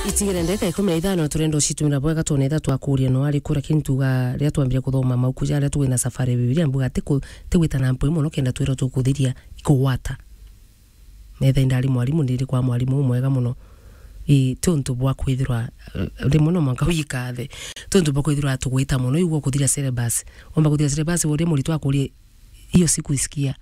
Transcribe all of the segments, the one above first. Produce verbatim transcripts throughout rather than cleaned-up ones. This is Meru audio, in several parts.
Itigire ndeka ikumi na ithano, turenda ucitumira bwega, twona itha twakuria no ari kura kintu ga ria twambire kuthoma mauku jaria twina safari ya Bibilia, mbuga ti ku-, ti gwita na mpwi mono kenda twirwa tukuthiria ikugwata. Metha indari mwarimu, ndiri kwa mwarimu umwega mono. Ii, ti untu bwa kwithirwa, eh, rimwe no mwanka wikathe. Ti untu bwa kwithirwa tugwita mono, igua kuthiria syllabus. Wamba kuthiria syllabus, uria muritu akurie, "Hiyo sikuisikia,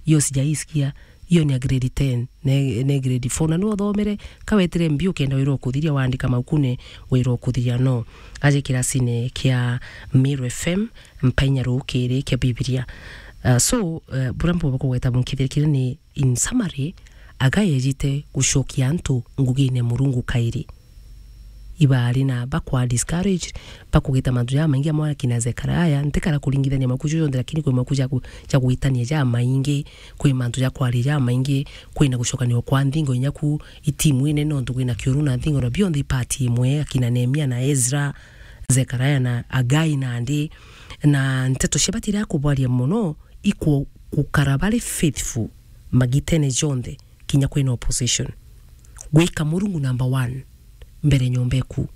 hiyo sijaisikia, hiyo ni ya grade ten, ne, ne grade four." Na ni uthomere, kawetire mbi ukenda wira ukuthiria, waandika maukune wira ukuthiria, no. Aje kirasine kia Meru F M, mpainya rukiri kia Bibilia. Uh, so, uh, bura mbuga kugweta bunkithirikire ni, in summary, Hagai ejite gucokia antu ngugine Murungu kairi. Ibaari na bakwa discouraged, bakugita mantu jamaingi amwe akina Zekaria, ntikara kuringithania maku jonthe, lakini kwi maku ja ku-, ja gwitania jamaingi, kwi mantu ja kwaria jamaingi, kwina gucokania kwa nthingo inya ku itimu inene, nontu kwina kiuru na nthingo, na bionthe ipati imwe, akina Nehemia na Ezra, Zekaria na Hagai nandi, na nteto cia batira kubwaria mono, iku-, gukara bari faithful magitene jonthe, kinya kwina opposition. Gwika Murungu number one mbere nyomba eku,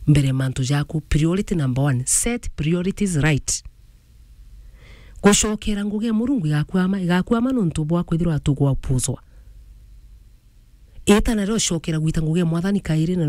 mbere mantu jaku, priority number one, set priorities right. Gucokera ngugi ya Murungu igakwama, igakwama nontu bwa kwithirwa tugwapuzwa. Ita nario cokera gwita ngugi ya Mwathani kairi na